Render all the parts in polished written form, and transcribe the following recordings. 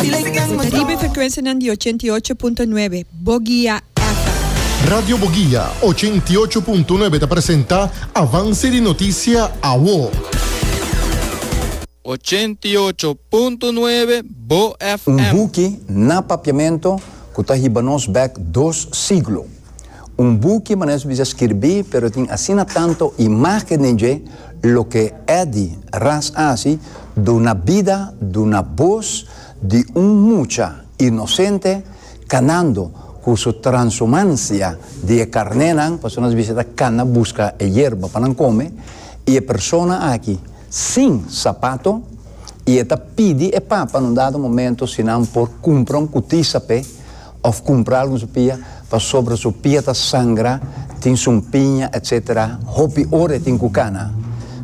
Bo ta riba e frekuensianan di 88.9 Boguia FM. Radio Boguia 88.9 ta presenta Avance di Noticia Awo. 88.9 Bo FM. Un buki na Papiamento ku ta hiba nos bèk dos siglo. Un buki manera su bisa skirbí pero tin asina tanto imágen den dje loke Eddy Ras a hasi duna bida, duna bos di un mucha inosente kanando ku su transumansia di e karnénan, pasobra nos bisa ta kana buska e yerba pa nan kome, i e persona aki sin sapato i e ta pidi e papa na un dado momento si nan por kumpra un kutisa p'e Of cumpra algun su pia, pasobra su pia ta sangra, tin sumpiña etc. Hopi ora e tin cu cana.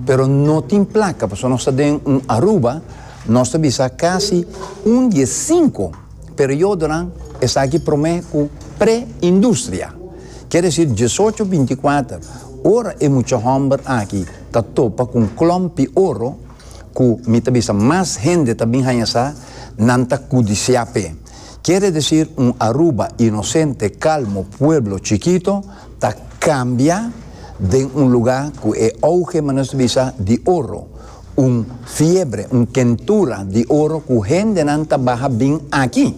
Pero no tin placa, pasobra nos ta den un Aruba, nos ta bisa casi un di e cinco periodonan esaki prome cu pre-industria. Kier decir diesocho binticuater, ora e mucha homber aki ta topa cu un klompi oro, cu mi ta bisa mas hende ta bin haña sa, nan ta cudisia p'e. Kiere decir un Aruba inocente, calmo, pueblo chikito ta cambia den un lugar cu e auge, manera nos ta bisa, di oro, un fiebre, un kentura di oro cu hendenan ta baha bin aki.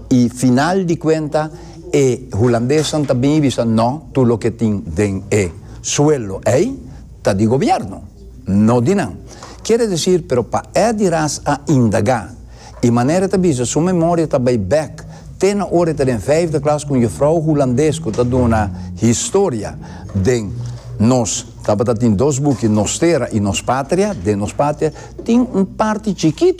Y final di cuenta e Hulandesnan ta bin y bisa no, tur loke tin den e suelo ey ta di gobierno, no di nan. Kiere decir, pero pa Eddy Ras a indaga I manera e ta bisa, su memoria ta bai bek te na ora e ta den vijfde klas ku un jufrou hulandes ku ta duna historia den nos tabata tin dos buki Nos Tera i Nos Patria. Den Nos Patria tin un parti chikitu.